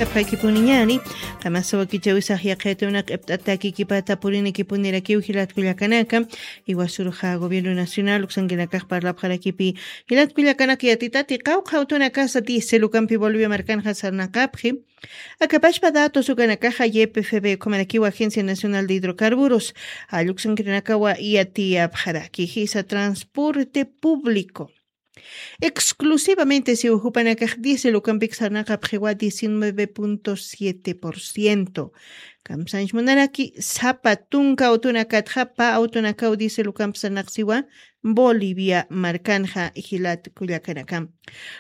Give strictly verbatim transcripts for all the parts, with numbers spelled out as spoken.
Apxakipuniñani, qamasa wakichawisax yaqhaytunaq q'ipt'atakikipata purinikipunirakiw jilatkullakanaka, iwasurxa gobierno nacional uksankinakax parlapxarakipi, jilatkullakanaka yatitati qawqha utunakasa diésel ukampi Bolivia markanxa sarnaqapxi. Akapashpa datos ukanakaxa Y P F B ukhamarakiw Agencia Nacional de Hidrocarburos, alluksankirinakawa yatiyapxaraki jisa transporte público. Exclusivamente siw jupanakax diésel ukampik sarnaqapxiwa diecinueve punto siete por ciento. Kamsanch munaraki sapa tunka awtunakatxa pa awtunakaw diésel ukamp sarnaqsiwa Bolivia markanxa jilat kullakanaka.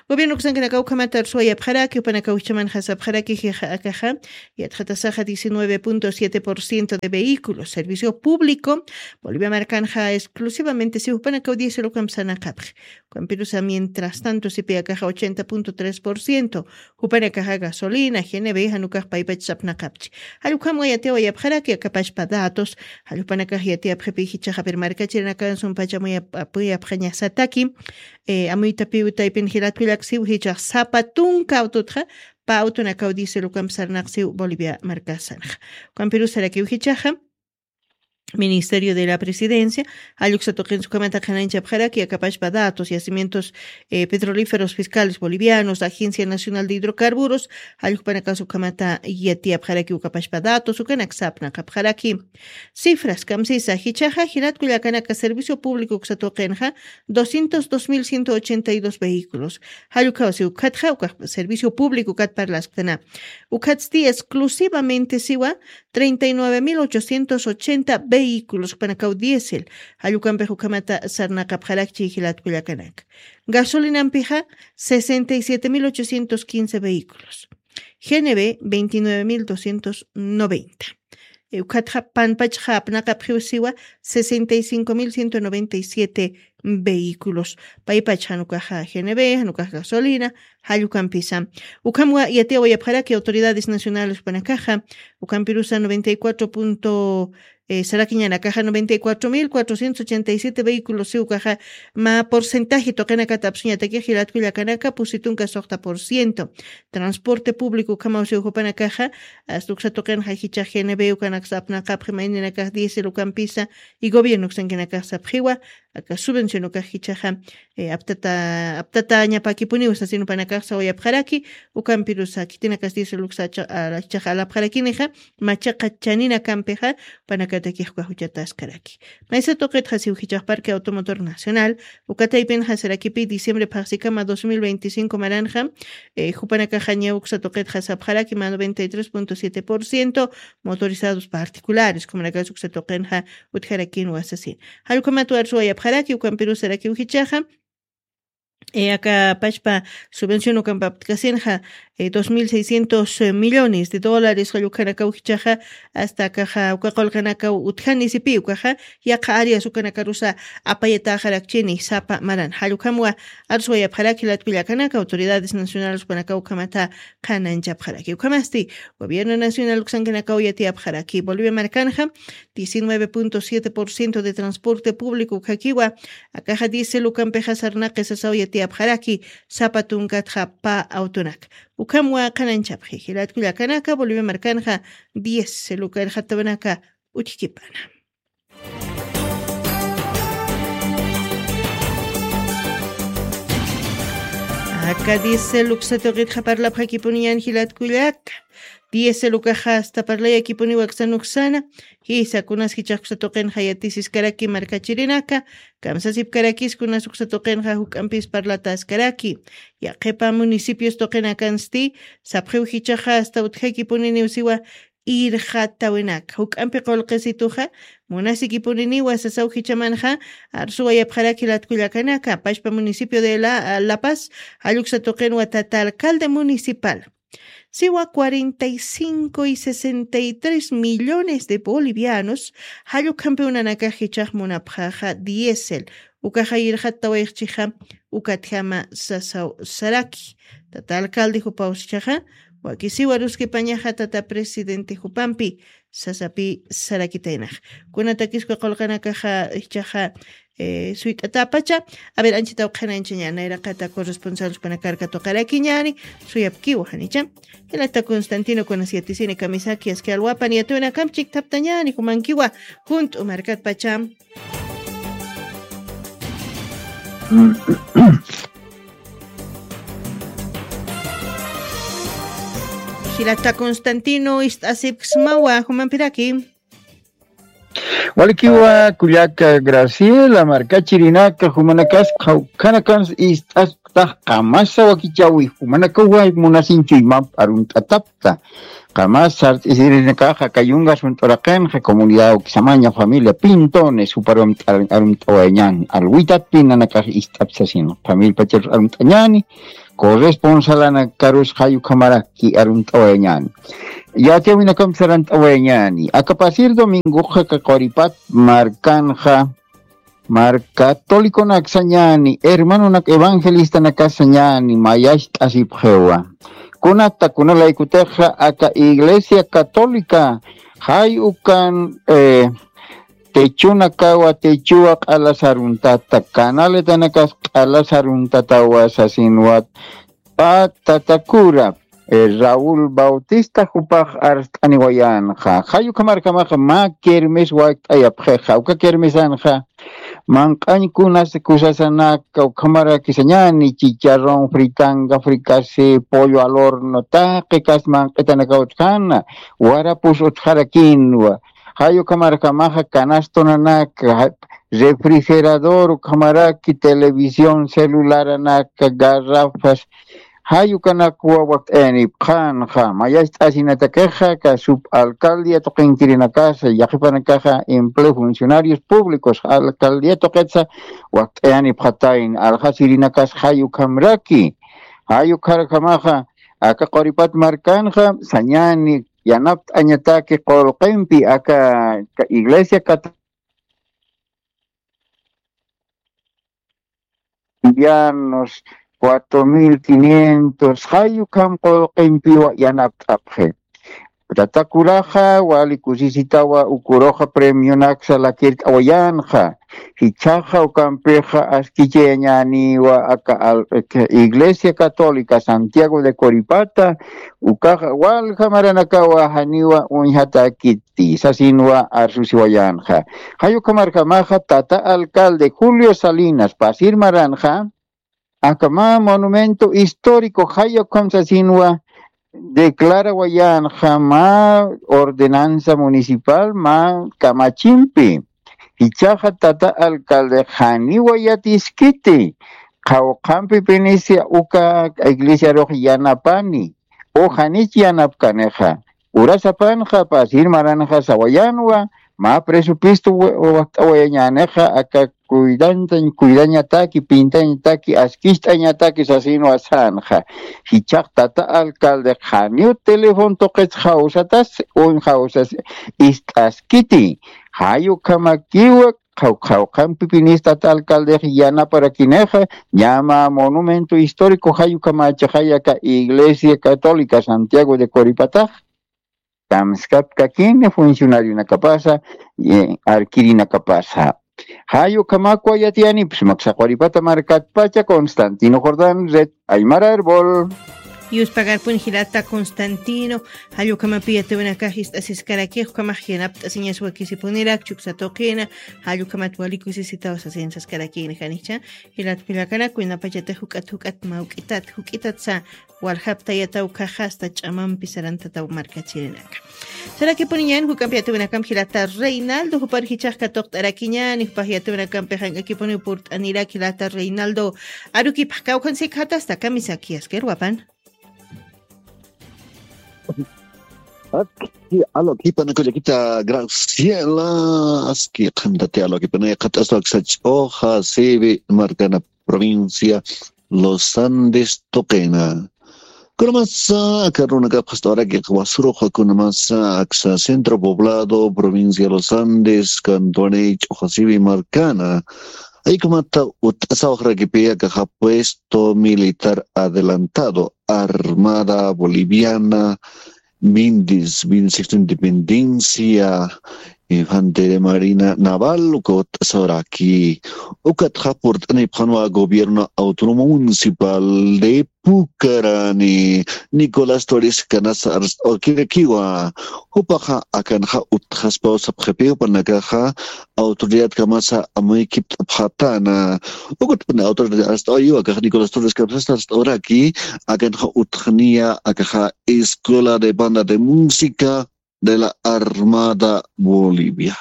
Gobierno uksankinakaw ukhamata arsuwayapxaraki jupanakaw jichamanxa sapxaraki jixa akaxa yatxatasaxa diecinueve punto siete por ciento de vehículos servicio público Bolivia markanxa exclusivamente siw jupanakaw diésel ukamp sarnaqapxi. Ukampirusa mientras tanto sipi akaxa ochenta punto tres por ciento jupanakaxa gasolina G N B janukax paypach sapnaqapchi. Jallukhamwa yatiyawayapxaraki akapashpa datos. Jallupanakax yatiyapxipi jichaxapir markachirinakansum pachamuyapxañasataki. Amuytapiw taypin jilatkullaksiw jichax sapa tunka awtutxa pa awtunakaw diésel ukamp sarnaqsiw Bolivia markasanxa. Ukampirusarakiw jichaxa Ministerio de la Presidencia, jalluksa tuqinsukamata qhananchapxaraki akapashpa datos, yacimientos petrolíferos fiscales bolivianos, Agencia Nacional de Hidrocarburos, jallukpanakasukamata yatiyapxaraki ukapashpa datos ukanak sapnaqapxaraki. Cifras kamsisa jichaxa jilatkullakanaka servicio público uksa tuqinxa doscientos dos mil ciento ochenta y dos vehículos. Jallukawsi ukatxa ukax servicio público ukat parlaskana. Ukatsti exclusivamente siwa treinta y nueve mil ochocientos ochenta vehículos panakaw diésel. Jallukampix ukhamata sarnaqapxarakchi jilatkullakanaka. Gasolinampixa sesenta y siete mil ochocientos quince vehículos. G N B veintinueve mil doscientos noventa. Ukhatxa panpachxa apnaqapxiw siwa sesenta y cinco mil ciento noventa y siete vehículos. Paypach janukaxa G N B janukax gasolina. Jallukampisa ukhamwa yatiyawayapxaraki autoridades nacionales panakaxa. Ukampirusa noventa y cuatro punto sarakiñanakaxa noventa y cuatro mil cuatrocientos ochenta y siete vehículos siwkaxa ma porcentaje tuqinakata apsuñatakix jilatkullakanaka pusitunka suxta por ciento. Transporte público ukhamaw siw jupanakaxa asta uksa tuqinxa jichax G N B ukanaksa apnaqapxi mayninakax diésel ukampisa y gobierno uksankinakax sapxiwa aka subvención ukax jichaxa aptata aptatañapakipuniw sasin upanakax sawayapxaraki. Ukampirusa khitinakas diésel uksa jichaxa alapxarakinixa machaqa chaninakampixa panakatakixka juchataskaraki. Maysa tuqitxa siw jichax parque automotor nacional ukataypinxa sarakipi diciembre phaxsikama dos mil veinticinco maranxa jupanakaxaña uksa tuqitxa sapxaraki ma noventa y tres punto siete por ciento motorizados particulares kumanakax uksa tuqinxa utjarakin wasasin. Jallukhamat warsuwayapxaraki ukampirusarakiw jichaxa aka pachpa subvención ukampaptkasinxa dos mil seiscientos millones de dólares jallukhanakaw jichaxa asta akaxa uka qulqanakaw utjani sipi ukaxa yaqa áreas ukanakarusa apayataxarakchini sapa maran jallukhamwa arsuwayapxaraki latkullakanaka autoridades nacionales ukanakaw ukhamata qhananchapxaraki ukhamasti gobierno nacional uksankanakaw yatiyapxaraki bolivia markanxa diecinueve punto siete por ciento de transporte público ukhakiwa akaxa diésel ukampixa sarnaqi sasaw yatiyapxaraki sapa tunkatxa pa awtunak ukhamwa qhananchapxi jilatkullakanaka bolivia markanxa diésel ukarxatawanaka utjkipana. Aka diésel uksa tuqitxa parlapxakipuniñan jilatkullaka diésel ukaxa asta parlayakipuniwa aksan uksana jisa kunas jichax uksa tuqinxa yatisiskaraki markachirinaka kamsasipkarakis kunas uksa tuqinxa juk'ampis parlataskaraki. Yaqhipa municipios tuqinakansti sapxiw jichaxa asta utjakipuniniw siwa irxatawinaka juk'ampi qulqisituxa munasikipuniniwa sasaw jichamanxa arsuwayapxaraki latkullakanaka pachpa municipio de la paz jalluksa tuqinwa tata alcalde municipal siwa cuarenta y cinco y sesenta y tres millones de bolivianos jallukhampi unanakax jichax munapxaxa diésel ukaxa irxattawayxchixa ukatjama sasaw saraki. Tata alcalde jupaw sichaxa, wakisiwa ruskipañaxa tata presidente jupampi sasapi sarakitaynax. Kunatakisku qulqanakaxa ichaxa eh, suyt'atapacha. A ver, anchitaw qhanañchaña nayraqata corresponsal supanakarka tuqarakiñani. Suyapkiwa janicha. Jilata Constantino kunas yatisini kamisaki aski alwapan yatuna kamp chikthaptañani jumankiwa junt'u markatpacha. Jilata Constantino ist'asipksmawa jumampiraki. Walikiwa kullaka Graciela, markachirinaka jumanakas qhawkhanakans ist'asktax qamasa wakichawi jumanakawa munasinchuymap arunt'atapta. Qamas sart'isirinakaxa kayungas junt'uraqinxa comunidad ukisamaña familia Pintones juparum arumt'awayañan alwitatpi nanakax ist'apsasin familia pacharus arumt'añani. Corresponsalanakarus jayukhamaraki arumt'awayañani. Yatiyawinakamp sarant'awayañani. Aka pasir domingoxa kaquripat markanxa marka catoliconak sañani hermanonak evangelistanak sañani mayacht'asipxiwa. Kunata kunalaykutixa aka iglesia católica jay ukan eh, techunakawa techuwa q'alasaruntata canaletanakax q'alasaruntatawa sasinwat. Pä tatakura eh, Raúl Bautista jupax arst'aniwayanxa jayukhamarkamaxa mä kermes wakt'ayapxixa uka kermesanxa manq'añkunas kusasanaka ukhamarakisañani chicharrón fritanga fricase pollo al horno taqikas manq'itanaka utjana warapus utjarakinwa. Jayukhamarkamaxa canastonanaka refrigerador ukhamaraki televisión celularanaka garrafas jayukanakwa wakt'ayanipxanxa mayacht'asinatakixa ka sub alcaldia tuqinkirinakasa yaqipanakaxa empleo funcionarios públicos alcaldia tuqitsa wakt'ayanipxatayn alxasirinakas jayukhamraki. Jayukharjamaxa aka quripat markanxa sañani yanapt'añataki qulqimpi aka iglesia católica bolivianos cuatro mil quinientos jayukham qulqimpiwa yanapt'apxi. Tatakuraxa wali kusisitawa ukuruxa premionaksa lakirt'awayanxa. Jichhaxa ukampixa askichayañäniwa aka iglesia católica santiago de coripata ukaxa walja maranakawa janiwa uñjatakiti sasinwa arsusiwayanxa. Jayukhamarjamaxa tata alcalde julio salinas pasir maranxa aka mä monumento histórico jayukham sasinwa declarawayanxa mä ordenanza municipal mä kamachimpi. Jichhaxa tata alcalde janiwa yatiskiti qhawqhampi pinisia uka iglesiarux yanapani u janich yanapkanixa. Urasapanxa pasir maranxa sawayanwa mä presupuesto wakt'awayañänixa aka cuidantañ cuidañataki pintañataki askicht'añataki sasinwa sänxa. Jichhax tata alcalde janiw teléfono tuqits jawsatas uñ jawsas ist'askiti. Jayukhamakiwa qhawqhawqhampi pinis tata alcaldex yanaparakinix ñama monumento histórico jayukamachaxay aka iglesia católica santiago de coripatax kamskapkakini funcionarionakapasa arkirinakapasa. Jayukhamakwa yatiyanipis maksaqwaripata markatpacha constantino jordán red aymara arbol. Yuspagarpun jilata constantino. Jallukamapi yatiwanakax ist'asiskarakix ukhamax yanapt'asiñas wakisipunirak chuksa tuqina. Jallukamat walikusisitaw sasinsaskarakini janicha. Jilat kullakanak winapachata juk'at juk'at mawk'itat juk'itatsa. Waljaptayataw khaxasta ch'amampi sarantataw markachirinaka. Sarakipuniñan juk'ampi yatiwinakamp jilata reinaldo jupar jichax katuqt'arakiñani jupax yatiwinakampi jank'akipuniw purt'anirak jilata reinaldo. Arukipxkawkhansikxatasta kamisaki askirwapan. Aski alwakipanaka llakita graciela. Aski qhantati alwakipanaka qhat'aswa aksach'uxa sibi markana provincia los andes tuqina. Kunamasa aka runakapxast'awarakiq wasuruxa kunamasa aksa centro poblado provincia los andes kantuani ch'uxasiwi markana. Jaykumata utt'asawaxarakipi akaxa puesto militar adelantado, Armada Boliviana, Mindis, Mindis Independencia, Infantería Marina Naval, uka utt'asawaraki. Ukatxa purt'anipxanwa gobierno autónomo municipal de Pucarani, Nicolás Torres Canasa arst'awakirakiwa. Jupaxa akanxa utjaspaw sapxipi, jupanakaxa autoridadkamasa amuykipt'apxatana. Ukatpuni autoridad arst'awayiwa, akaxa Nicolás Torres Canasa arst'awraki, akanxa utjniya, akaxa Escuela de Banda de Música de la Armada Boliviana.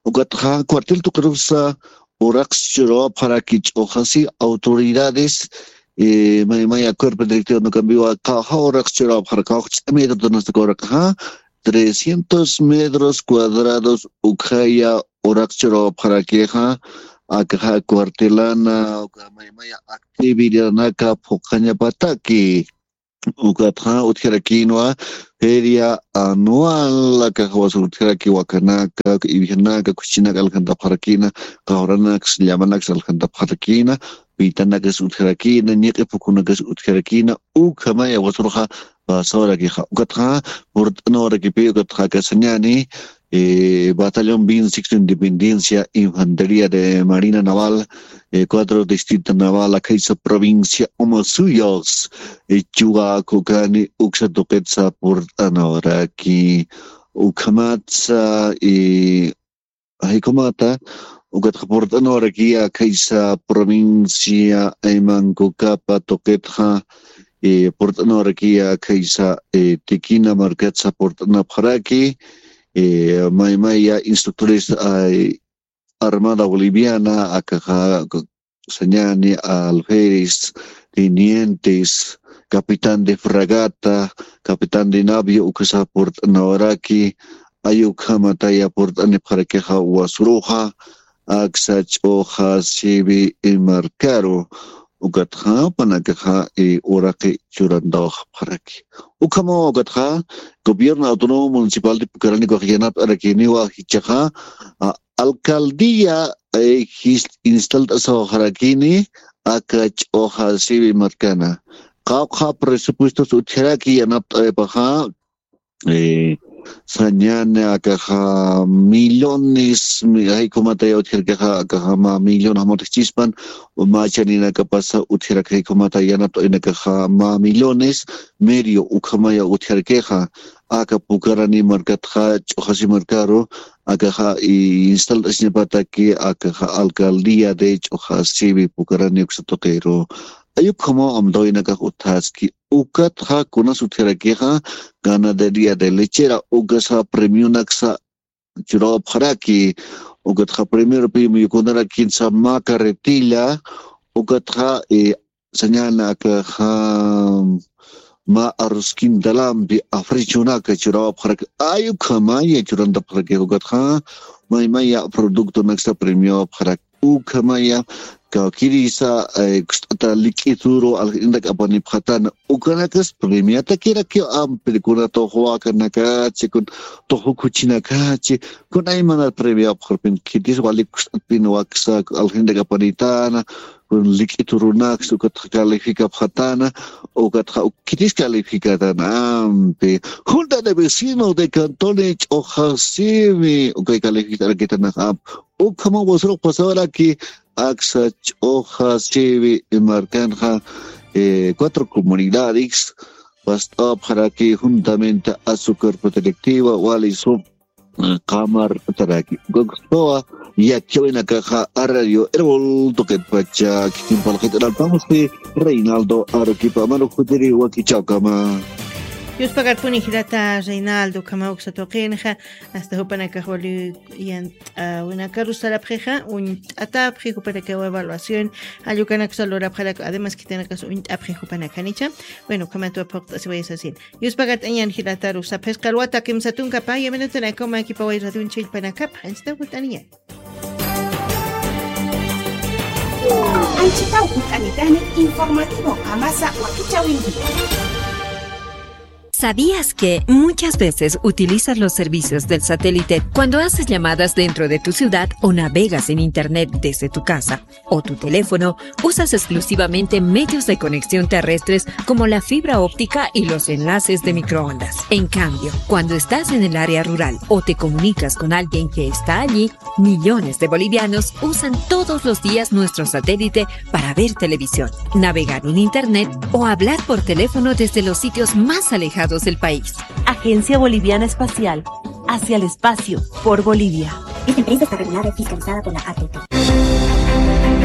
Ukatxa cuartel tuqirusa uraqs churawapxaraki ch'uxasi autoridades, eh, may, maya cuerpo directivo no cambiwa, qawxa uraqs churawapxaraki, qawxa ch'amita tunasta uraqaxa, trescientos metros cuadrados ukhaya uraqs churawapxarakixa, akaxa cuartelana, uka may, maya actividadanaka phuqhañapataki. Ukatxa utjarakïnwa feria anual, akaxa wasur utjaraki wakanaka, iwijanaka, khuchinaka aljantapxarakïna, qawranaks, llamanaks aljantapxarakïna, pitanakas utjarakïna, ñiq'i phukunakas utjarakïna, ukhamaya wasurxa pasawarakixa. Ukatxa purt'anawarakipi, ukatxa aka sañäni, eh, Batallón Bin Sexto Independencia, Infantería de Marina Naval, eh, cuatro Distrito Naval, akhaysa provincia Omasuyos, eh, chuwa kukani uksa tuqitsa purt'anawaraki. Ukhamatsa, eh, jaykumata, ukatxa purt'anawarakiya akhaysa provincia Aymankukapa tuqitxa, eh, purt'anawarakiya akhaysa, eh, Tikina markatsa purt'anapxaraki, eh, maymaya instructores, ay, Armada Boliviana, akaxa, sañäni, alférez, tenientes, capitán de fragata, capitán de navio, ukasa purt'anawaraki, ay ukhamataya purt'anipxarakixa wasuruxa, aksa ch'uxa siwi markaru, ukatxa jupanakaxa, eh, uraqi churantawapxaraki. Ukhamawa ukatxa, gobierno autónomo municipal de Pucarani ukax yanapt'arakiniwa jichhaxa, a, alcaldía, eh, jis-, instalt'asawaxarakini, aka ch'uxa siwi markana. Qawqha presupuestos utjaraki yanapt'awipaxa, eh, sañäni akaxa millones, mi-, jaykumataya utjarakaxa, akaxa mä millón jamutjchispan, mä chaninakapasa utjaraki jaykumata yanapt'awinakaxa mä millones, medio ukhamaya utjarakixa, aka Pucarani markatxa ch'uxasi markaru, akaxa, i, instalt'asiñapataki, akaxa alcaldía de ch'uxa siwi Pucarani uksa tuqiru. Ay ukhamaw amtawinakax utjaski, ukatxa kunas utjarakixa, ganadería de lechera, ukasa premionaksa churawapxaraki, ukatxa primero pi muyukunarakinsa mä carretilla, ukatxa, eh, sañäni akaxa mä arrozkintalampi africhunaka churawapxaraki, ay ukhamaya churantapxaraki, ukatxa maymaya productonaksa premiowapxaraki. Ukhamaya, kawkirisa, eh, kust'ata lik'ituru aljindak apanipxatana, ukanakas premiatakirakiw ampi, kuna tuxu wakanakachi, kun tuxu khuchinakachi, kun aymanar premiapxarpin, khitis wali kust'atpin waksa aljindak apanitana, kun lik'iturunaks, ukatxa calificapxatana, ukatxa uk-, khitis calificatana ampi. Junta de Vecinos de Cantón Ch'uxasiwi, ukay califict'arakitanax ampi. Ukhama wasurux pasawaraki, aksa ch'uxa siwi markanxa, eh, cuatro comunidades, past'apxaraki juntamente a su cuerpo directiva, wali sum, eh, qamar taraki. Gokspawa, yakiwinakaxa a Radio Erol tuqitpacha, kikin palqit'analpamuspi, Reinaldo Arequipa, manu jutiri wakichawkama. Yuspagarpuni jirata Reinaldo, ukhama uksa tuqinxa, hasta jupanakax wali yan t'awinakaru sarapxixa, uñt'atapxi jupanakawa evaluación, jallukanaksa lurapxaraku, además khitinakas uñt'apxi jupanakanicha. Bueno, ukhamatwa phuqt'asiwayasasina. Yuspagart'añan jilataru, sapxisqa alwata kimsa tunka paya minutanakama kipaway radion chillpanakapa, anchita jut'aniñan. Anchita jut'anitani informativo amasa wakichawinki. ¿Sabías que muchas veces utilizas los servicios del satélite cuando haces llamadas dentro de tu ciudad o navegas en Internet desde tu casa o tu teléfono? Usas exclusivamente medios de conexión terrestres como la fibra óptica y los enlaces de microondas. En cambio, cuando estás en el área rural o te comunicas con alguien que está allí, millones de bolivianos usan todos los días nuestro satélite para ver televisión, navegar en Internet o hablar por teléfono desde los sitios más alejados del país. Agencia Boliviana Espacial, hacia el espacio, por Bolivia. Esta empresa está regulada y fiscalizada por la A T T.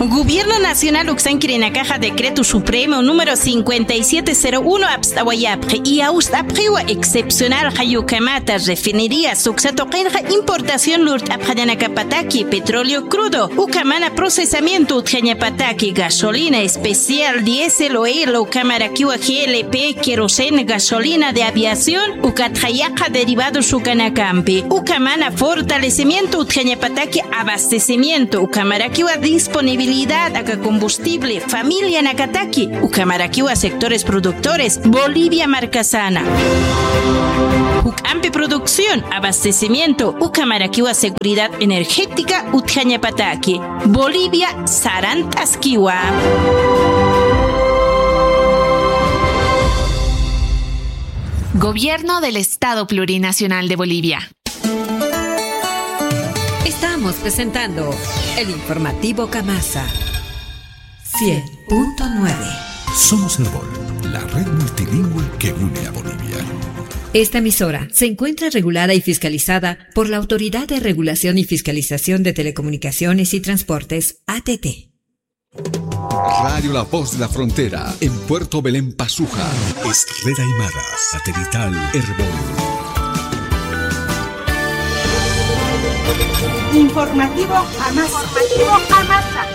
Gobierno Nacional uksankirinakaxa Decreto Supremo número cincuenta y siete cero uno apst'awayapxi, y awst'apxiwa excepcional jayukamata refinería suksa tuqinxa importación lurt'apxañanakapataki petróleo crudo, ukamana procesamiento utjañapataki gasolina especial, diésel o hilo, ukamarakiwa G L P, queroseno, gasolina de aviación, ukatxa yaqha derivados ukanakampi, ukamana fortalecimiento utjañapataki abastecimiento, ukamarakiwa disponibilidad aka combustible, familianakataki, ukamarakiwa sectores productores, Bolivia markasana. Juk'ampi producción, abastecimiento, ukamarakiwa seguridad energética utjañapataki. Bolivia sarant'askiwa. Gobierno del Estado Plurinacional de Bolivia. Estamos presentando el informativo Kamasa cien punto nueve. Somos Erbol, la red multilingüe que une a Bolivia. Esta emisora se encuentra regulada y fiscalizada por la Autoridad de Regulación y Fiscalización de Telecomunicaciones y Transportes, A T T. Radio La Voz de la Frontera, en Puerto Belén, Pazuja. Es red aymara, satelital, Erbol. Informativo Amasa. Informativo Amasa.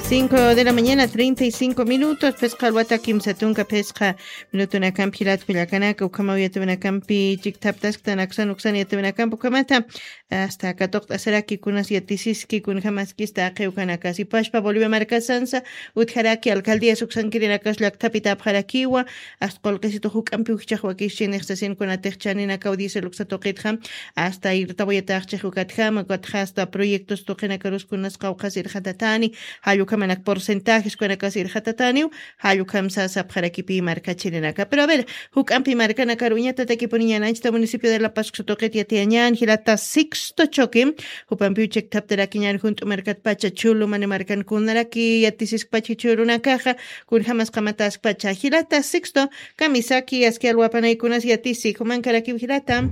Cinco de la mañana, treinta y cinco minutos. Phisqa alwata kimsa tunka phisqa minutunakampi jilat kullakanaka, ukhama yatiyanakampi chikthaptasktan aksan uksan yatiyanakampi ukhamata. Hasta katuqt'asaraki kunas yatisiski, kunjamaskista aqi ukanakasi. Pashpa Bolivia markasansa utjaraki alcaldías uksankirinakax llakthapitapxarakiwa, hasta qullqisitu juk'ampi ujchax wakischi nixsasin kunatix chaninakaw diésel uksa tuqitxa, hasta irtawayataxchix ukatjama, ukatxa hasta proyectos tuqinakarus kunas qawqhas irxatatani, jall ukhamanak porcentajes kunakasi irxatataniw, jall ukham sasa sapxarakipï markachirinaka. Pero a ver, juk'ampi markanakar uñatatakipuniñan anchhita municipio de La Paz uksa tuqit yatiyañan, jilata Sixto Choque, jupampiw chikthaptarakiñan junt'u markatpacha, Chulu, Mani markan kunaraki yatisiskpacha jichhürunakaxa, kunjamas qamataskpacha. Jilata Sixto, kamisaki, aski alwapanay kunas yatisi, jumankarakiw jilata.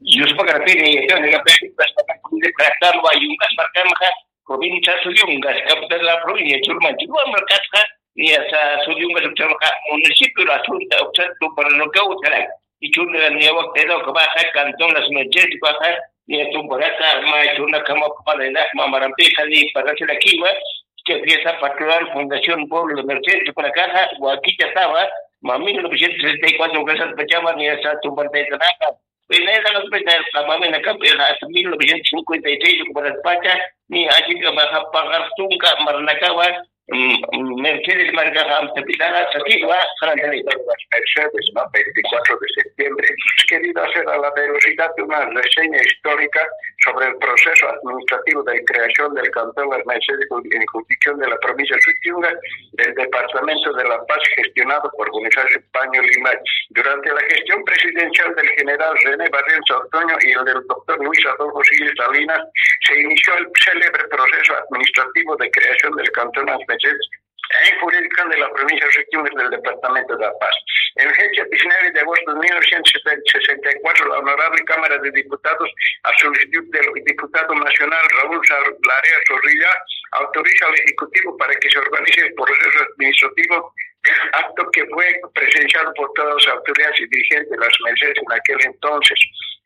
Yuspakarapini, yungas markanxa, provincia Suyungas, capital de la provincia, Chulumanchi. Luan markatxa, niya Suyungas uksamxa, municipio la Asunta, uksa Tumbaranoca, utjarak. Ichhurna niya waktayna ukhamaxa, cantón Las Mercedes ukaxa, niya Tumbaraka, ma ichhurna kama palayna, ma marampixa, ni parasirakiwa, que fiesta patronal Fundación Pueblo de Mercedes ukanakaxa, wakichatawa, ma mil novecientos sesenta y cuatro ukasat pachama, niya Tumbarataytanaka, Pinayta hospital qamamina kampixa hasta mil novecientos cincuenta y seis ukparatpacha, ni achikamaxa paqar tunka marnakawa, mm, Mercedes markaxa amtapitana sakiwa, qarantanita. Mercedes, ¿no? Veinticuatro de septiembre. Querido hacer a la velocidad de una reseña histórica sobre el proceso administrativo de creación del cantón Las Mercedes en jurisdicción de la provincia de Suyungas, del departamento de La Paz, gestionado por Bonifacio Paño Limachi. Durante la gestión presidencial del general René Barrientos Ortuño y el del doctor Luis Adolfo Siles Salinas, se inició el célebre proceso administrativo de creación del cantón Las Mercedes en jurisdicción de la provincia de Suyungas del departamento de La Paz. En fecha diecinueve de agosto de mil novecientos sesenta y cuatro, la Honorable Cámara de Diputados, a solicitud del diputado nacional Raúl Sar-, Larea Zorrilla, autoriza al Ejecutivo para que se organice el proceso administrativo, acto que fue presenciado por todas las autoridades y dirigentes de Las Mercedes en aquel entonces.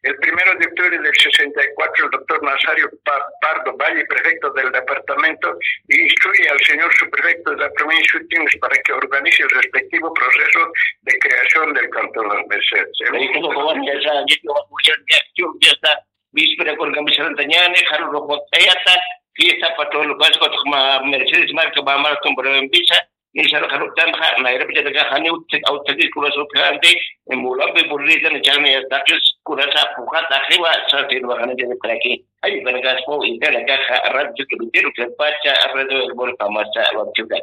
El primero de octubre del sesenta y cuatro, el doctor Nazario Pa-, Pardo Valle, prefecto del departamento, instruye al señor subprefecto de la provincia de Suyungas para que organice el respectivo proceso de creación del cantón Las Mercedes. Ahí como que van a empezar, ya que van a escuchar, ya, ya, ya está. Víspera con camiseta ñane, jaro rojo, tayata, fiesta patrón, Pascua, ma, Mercedes marca, ma, marca, un breve visa, ni sal, jalo, tan, ja, Nairobi, ya, ja, ni, ut, ut, ut, ut, kura, su, grande, en Mulambe, burrita, ni, chame, ya, taquis, kura, sa, puja, taje, va, sa, tiene, va, ganar, ya, para aquí. Ay, para acá, po, y para acá, ja, radio, que, que, que, pacha, radio, el, bol, jamás, sa, va, chuta.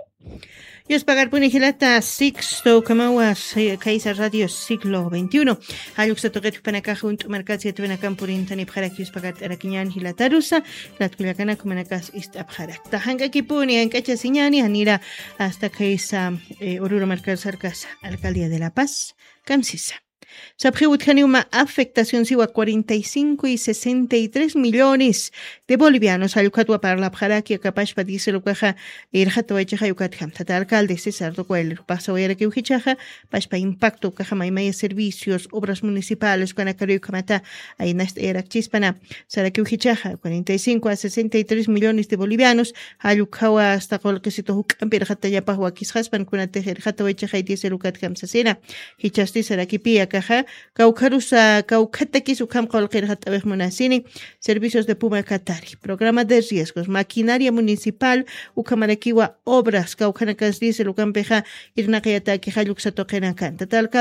Yuspagarpuni jilata Sixto Kamawas, eh, Kaiser Radio Siglo veintiuno. Jalluksatuqit jupanakax junt'u markatsi yatwinakan purintanipxarak yuspagart'arakiñan jilatarusa, jilatakullakanak jumanakas ist'apxarak. Tajank'akipuni, jank'achasiñani, janira hasta Kaisa, eh, Oruro markar sarkasa, Alcaldía de La Paz, kamsisa. Sapxiw utjaniwma afectación siwa cuarenta y cinco y sesenta y tres millones de bolivianos allukatwa parlapxaraki akapashpa diesel ukaxa irxatawaychaxa ukatjam. Tata alcalde César Ducuel rupasawayarakiw jichaxa, pashpa impacto ukaxa maymaya servicios, obras municipales ukanakaruy ukhamata aynast'ayarakchispana. Sarakiw jichaxa cuarenta y cinco a sesenta y tres millones de bolivianos allukhawa hasta qolqisitu juk'ampi irxatallapax wakisxaspan kunatix irxatawaychaxa diesel ukatjam sasina. Jichhasti sarakipi akaxa, kawkharusa, kawkhatakis ukham qulqirxat'awix munasini, servicios de Puma Katari, programa de riesgos, maquinaria municipal, ukhamarakiwa obras, kawkhanakas diesel ukampixa, irnaqayataki jalluksa tuqinakan. Tata alcalde